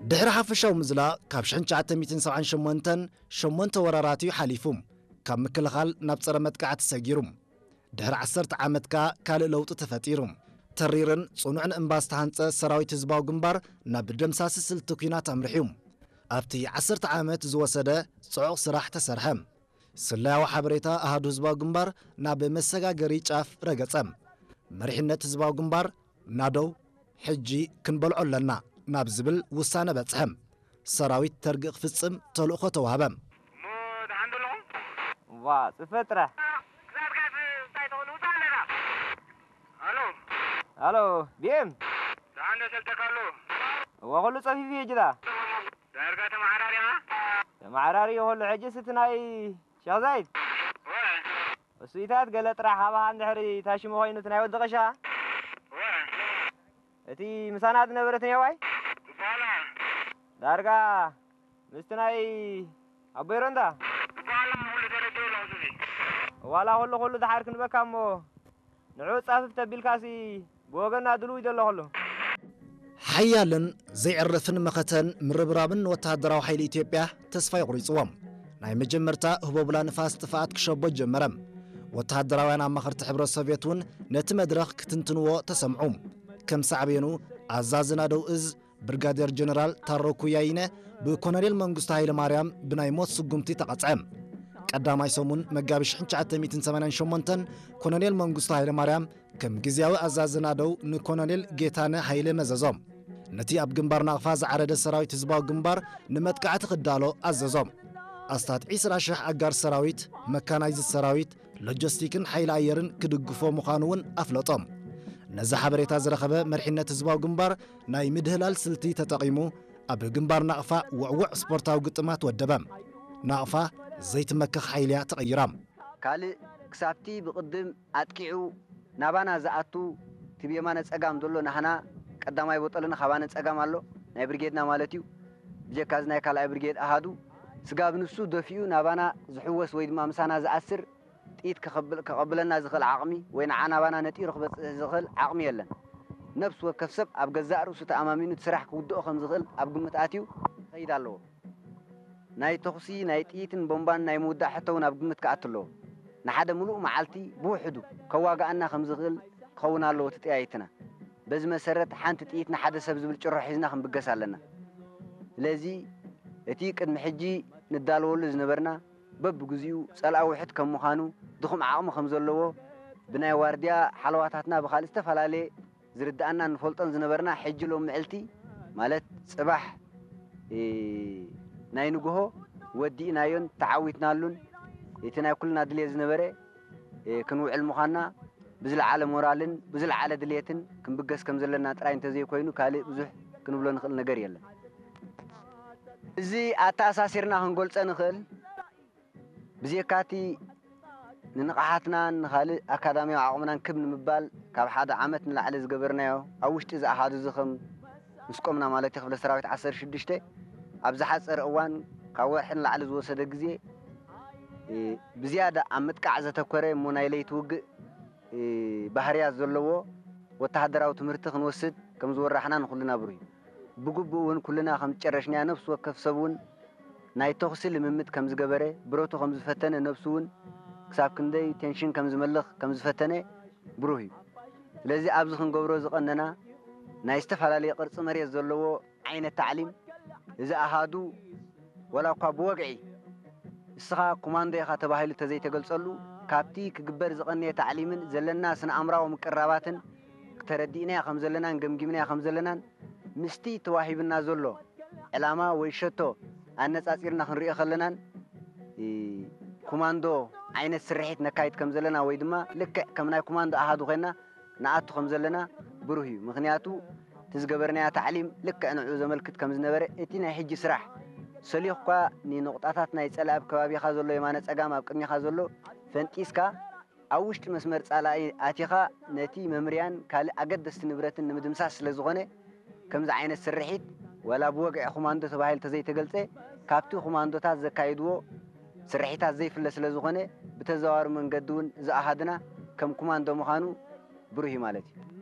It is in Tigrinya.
ድሕሪ ሓፈሻዊ ምዝላቕ ካብ ሽሕን ትሽዓተ ሚእትን ሰብዓን ሸሞንተን ሸሞንተ ወራራት እዩ ሓሊፉ። ካብ ምክልኻል ናብ ጸረ መጥቃዕቲ ሰጊሩ። ድሕሪ ዓሰርተ ዓመት ከኣ ካልእ ለውጢ ተፈጢሩ። ተሪርን ጽኑዕን እምባ ዝተሃንጸ ሰራዊት ህዝባዊ ግንባር ናብ ደምሳሲ ስልቲ ኲናት ኣምሪሑ። ኣብቲ ዓሰርተ ዓመት ዝወሰደ ጽዑቕ ስራሕ ተሰርሐ። ስለያዊ ሓበሬታ ኣሃዱ ህዝባዊ ግንባር ናብ መሰጋገሪ ጫፍ ረገጸ። መሪሕነት ህዝባዊ ግንባር፣ ናደው፣ ሕጂ ክንበልዖ ኣለና ናብ ዝብል ውሳነ በጽሐ። ሰራዊት ተርጊ ክፍጽም ተልእኾ ተዋህበ። እሞ ደሓን ዶ ኣለኹም? ዋ፣ ጽፈ ጥራሕ። ክሳብ ካስ እንታይ ትኽእሉ ውጻእ ኣለና። ኣሎ። ኣሎ፣ ቢኤም። ደሓን ዶ ሰልጠካ ኣሎ? እዋ፣ ኩሉ ጸፊፉ እዩ ጅዳ። ዳርጋ ተመሓራሪኻ? ተመሓራሪ እዩ ኩሉ። ሕጂስ እቲ ናይ ሸኽ ዛይድ? ወ። እሱ ኢታት ገለ ጥራሕ ሃባኻ እንድሕሪ ታሽሙ ኮይኑ እቲ ናይ ወዲ ቀሻ? ወ። እቲ ምሳና ዝነበረ እቲ ኔዋይ? በኋላ። ዳርጋ ምስቲ ናይ ኣቦይ ሮንዳ? በኋላ ኩሉ ተረዲኡ ኣሎ እዚ። ዋላ ኩሉ ኩሉ ደሓር ክንበካ እሞ ንዑ ጻፍፍ ተቢልካሲ ብወገና ድልው እዩ ዘሎ ኩሉ። ሓያልን ዘይዕርፍን መኸተን ምርብራብን ወተሃደራዊ ሓይሊ ኢትዮጵያ ተስፋ የቑሪጽዎም። ናይ መጀመርታ ህቦብላ ንፋስ ጥፍኣት ክሸቦ ጀመረ። ወተሃደራውያን ኣማኸርቲ ሕብረት ሶቭየት እውን ነቲ መድረኽ ክትንትንዎ ተሰምዑ። ከም ሳዕቤኑ ኣዛዚ ናደው እዝ ብርጋዴር ጀነራል ታሮ ኩያይነ ብኮሎኔል መንግስቱ ሃይለ ማርያም ብናይ ሞት ስጉምቲ ተቐጽዐ። ቀዳማይ ሰሙን መጋቢት ሽሕን ትሽዓተ ሚእትን ሰማንያን ሸሞንተን ኮሎኔል መንግስቱ ሃይለ ማርያም ከም ግዝያዊ ኣዛዚ ናደው ንኮሎኔል ጌታነ ሃይለ መዘዞ። ነቲ ኣብ ግንባር ናቕፋ ዝዓረደ ሰራዊት ህዝባዊ ግንባር ንመጥቃዕቲ ክዳሎ ኣዘዞ። ኣስታት ዒስራ ሽሕ ኣጋር ሰራዊት፣ መካናይዝድ ሰራዊት፣ ሎጂስቲክን ሓይሊ ኣየርን ክድግፎ ምዃኑ እውን ኣፍለጦ። ነዚ ሓበሬታ ዝረኸበ መሪሕነት ህዝባዊ ግንባር ናይ ምድህላል ስልቲ ተጠቒሙ ኣብ ግንባር ናቕፋ ውዕዉዕ ስፖርታዊ ግጥማት ወደበ። ናቕፋ ዘይትመክኽ ሓይሊ እያ ተቐይራ። ካልእ ክሳብቲ ብቕድም ኣጥቂዑ ናባና ዝኣቱ እቲ ብየማነ ጸጋም ዘሎ ናህና ቀዳማይ ቦጠልና ካባነ ጸጋም ኣሎ፣ ናይ ብርጌድና ማለት እዩ። ብጀካ እዚ ናይ ካልኣይ ብርጌድ ኣሃዱ ስጋብ ንሱ ደፊኡ ናባና ዝሕወስ ወይ ድማ ምሳና ዝኣስር ጥይት ከኸብል-፣ ከቐብለና ዝኽእል ዓቕሚ ወይ ንዓ ናባና ነጢሩ ክበጽሕ ዝኽእል ዓቕሚ የለን። ነፍሲ ወከፍ ሰብ ኣብ ገዛእ ርእሱ ተኣማሚኑ እቲ ስራሕ ክውድኦ ከም ዝኽእል ኣብ ግምት ኣትዩ ክኸይድ ኣለዎ። ናይ ተኹሲ፣ ናይ ጥይትን ቦምባን ናይ ምውዳእ ሕቶ እውን ኣብ ግምት ክኣቱ ኣለዎ። ንሓደ ምሉእ መዓልቲ ብውሕዱ ከዋግኣና ከም ዝኽእል ክኸውን ኣለዎ እቲ ጠያይትና። በዚ መሰረት ሓንቲ ጥይት ንሓደ ሰብ ዝብል ጭርሖ ሒዝና ክንብገስ ኣለና። ስለዚ እቲ ቅድሚ ሕጂ ንዳለወሉ ዝነበርና በብግዚኡ ጸላኢ ውሕድ ከም ምዃኑ፣ ድኹም ዓቕሚ ከም ዘለዎ ብናይ ዋርድያ ሓለዋታትና ብኻልእ ዝተፈላለየ ዝርድኣና ንፈልጦን ዝነበርና፣ ሕጂ ሎም ምዕልቲ ማለት ጽባሕ፣ እ፣ ናይ ንግሆ ወዲእናዮን ተዓዊትናሉን፣ እቲ ናይ ኩልና ድልየት ዝነበረ፣ እ፣ ክንውዕል ምዃንና ብዝለዓለ ሞራልን ብዝለዓለ ድልየትን ክንብገስ ከም ዘለና ጥራይ እንተዘይኮይኑ ካልእ ብዙሕ ክንብሎ ንኽእል ነገር የለን። እዚ ኣተኣሳሲርና ክንገልጸ ንኽእል። ብዜካቲ ንንቕሓትናን ንኻልእ ኣካዳሚያዊ ዓቕምናን ክብ ንምባል ካብ ሓደ ዓመት ንላዕሊ ዝገበርናዮ ኣብ ውሽጢ እዚ ኣሃዱ እዚ ከም ምስ ቆምና ማለት እዩ ክፍለ ሰራዊት ዓሰርተ ሽዱሽተ ኣብ ዝሓጸረ እዋን ካብ ወርሒ ንላዕሊ ዝወሰደ ግዜ፣ እ፣ ብዝያዳ ኣብ ምጥቃዕ ዘተኮረ እሞ ናይ ለይቲ ውግእ፣ እ፣ ባህርያት ዘለዎ ወተሃደራዊ ትምህርቲ ክንወስድ ከም ዝወራሕና ንኹልና ብሩህ እዩ። ብግቡእ እውን ኩልና ከም ዝጨረሽናዮ ነፍሲ ወከፍ ሰብ እውን ናይ ተኹሲ ልምምድ ከም ዝገበረ፣ ብረቱ ከም ዝፈተነ፣ ነብሱ እውን ክሳብ ክንደይ ቴንሽን ከም ዝመልኽ ከም ዝፈተነ ብሩህ እዩ። ስለዚ ኣብዚ ክንገብሮ ዝቐነና ናይ ዝተፈላለየ ቅርጺ መሬት ዘለዎ ዓይነት ታዕሊም፣ እዚ ኣሃዱ ዋላ እኳ ብወግዒ እስኻ ኮማንዶ ኢኻ ተባሂሉ ተዘይተገልጸሉ፣ ካብቲ ክግበር ዝቐነየ ታዕሊምን ዘለና ስነ ኣእምራዊ ምቅርራባትን ተረዲእናዮ ከም ዘለናን ገምጊምናዮ ከም ዘለናን ምስቲ ተዋሂብና ዘሎ ዕላማ ወይ ሸቶ ኣነጻጺርና ክንሪኦ ከለናን፣ እ፣ ኮማንዶ ዓይነት ስርሒት ነካይድ ከም ዘለና ወይ ድማ ልክዕ ከም ናይ ኮማንዶ ኣሃዱ ኮይና ንኣቱ ከም ዘለና ብሩህ እዩ። ምኽንያቱ እቲ ዝገበርናዮ ታዕሊም ልክዕ ንዕኡ ዘመልክት ከም ዝነበረ፣ እቲ ናይ ሕጂ ስራሕ ሰሊኹኳ ንንቑጣታት ናይ ጸላኢ ኣብ ከባቢኻ ዘሎ የማነ ጸጋም ኣብ ቅድሚኻ ዘሎ ፈንጢስካ ኣብ ውሽጢ መስመር ጸላኢ ኣቲኻ ነቲ መምርያን ካልእ ኣገደስቲ ንብረትን ንምድምሳስ ስለ ዝኾነ፣ ከምዚ ዓይነት ስርሒት ዋላ ብወግዒ ኮማንዶ ተባሂሉ ተዘይተገልጸ፣ ካብቲ ኮማንዶታት ዘካይድዎ ስርሒታት ዘይፍለ ስለ ዝኾነ፣ ብተዘዋዋሪ መንገዲ እውን እዚ ኣሃድና ከም ኮማንዶ ምዃኑ ብሩህ እዩ ማለት እዩ።